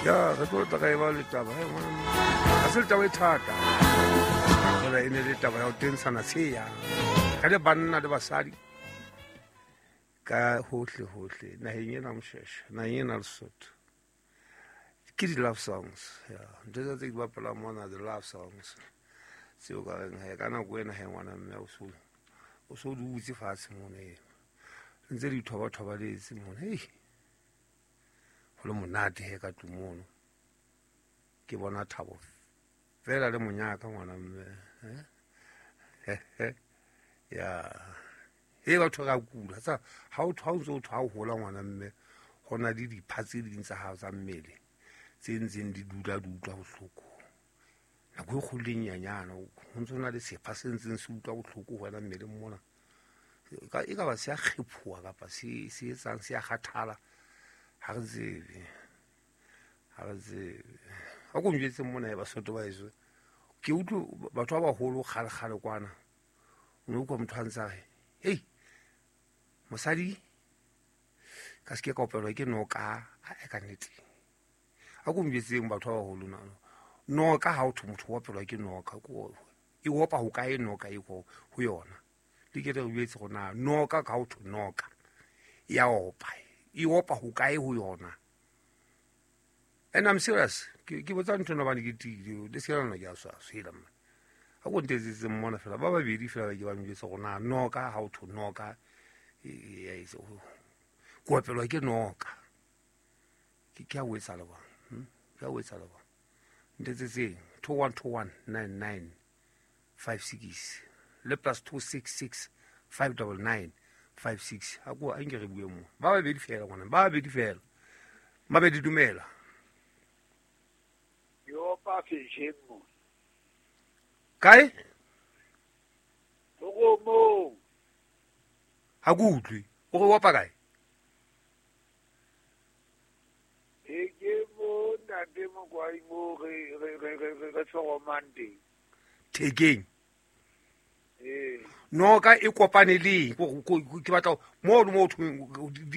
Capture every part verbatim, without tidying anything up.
Ya re tlo tla ka e ba le taba he ngwana ha se taba e thata fela e ne le taba ya ho tentshana tsheya ka le banna le basadi ka hohle hohle naheng ena Mshweshwe naheng ena Lesotho ke di-love songs ya ntho tsa tse di bapalang mona di-love songs tseo ka reng he ka nako ena he ngwana mme o so o so dutse fatshe mona ena ntse di thoba-thobaletse mona hei ho le monate he ka tlung mono ke bona thabo fela le monyaka ngwana mme eh ya e batho ra kula tsa ha o thwa o ntse o thwa o hola ngwana mme ho na le dipha tse ding tsa hao tsa mmele tse ntseng di dula di utlwa bohloko nako e kgolo le nyanyana ho ntse ho na le sepha se ntseng se utlwa bohloko ho wena mmeleng mona e ka ba se a kgephoha kapa se se etsang se a kgathala ha re tsebe ha re tsebe ha ko njwetse mona e Basotho ba heso ke utlwe batho ba baholo kgale-kgale kwana o ne utlwa motho a ntse a re hei mosadi ka se ke ka opelwa ke noka a ka nnete a ko njwetseng batho ba baholo na noka ha o thwe motho o opelwa ke noka e opa ho kae noka e ko ho yona le ke re jwetse go na noka ka ho thwe noka ya opa e opa ho kae ho yona. And I'm serious ke ke botsa ntho ena hobane ke tiile le se lona ke a swaswa hela mma ha ko ntetsetse mmona fela ba babedi fela ke ba njwetse go na noka ha o thwe noka e e ko opelwa ke noka ke ke a o etsa le bona ke a o etsa le bona ntetsetseng two one two one nine nine five six le plus two six six five double nine five six ha ko a nke re bue mo ba babedi fela ngwana ba babedi fela mabedi dumela yo pa fisheng mo kae go mo ha go utlwe o re opa kae e ke mo ntate Mokwai mo re re re re re tshoromang teng thekeng ee noka e kopane le eng ke batla mo le mo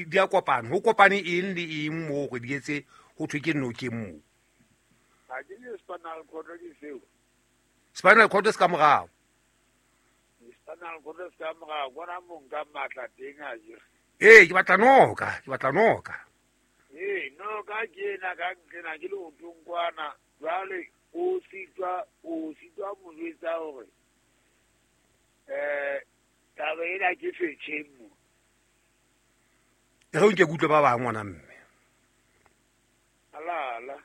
di a kopana ho kopane eng le eng mo gore di etse ho thwe ke nokeng mo ha ke le spinal cord ke seo spinal cord se ka morao spinal cord se ka morao bona mo nka matla teng a je ee ke batla noka ke batla noka ee noka ke ena ka ntlena ke le otong kwana jwale o sitwa o sitwa mo jwetsa hore eh taba ena ke fetjheng mo e re nke ke utlwe ba bang ngwana mme ala ala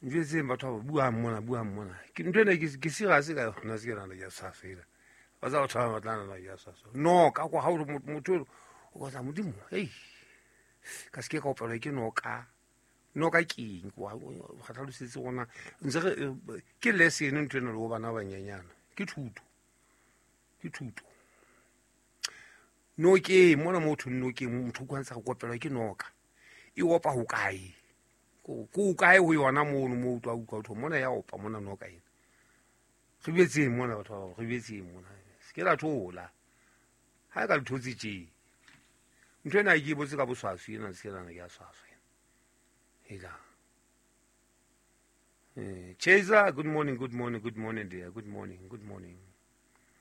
njwetseng batho ba buang mona buang mona ke ntho ena ke ke serious ka yona se ke nana ke a swaswa ba tsa batho ba batla nana ke a swaswa noka kwa ha o motho o ka tsa modimo hei ka se ke ka opelwa ke noka noka ke eng kwa ga tlhalosetse gona ntse re ke lesson ntho ena le go bana ba banyenyana ke thuto ke thuto nokeng mona mo thong nokeng motho o kwantsha go kopelwa ke noka e opa ho kae ko ko kae ho yona mono mo utlwa utlwa thong mona ya opa mona noka ena re betseng mona batho ba re betseng mona se ke la thola ha ka le thotse tje ntho ena ke botse ka boswaswi ena se ke lana ke a swaswa ena eh Chaser, good morning, good morning, good morning dear, good morning, good morning.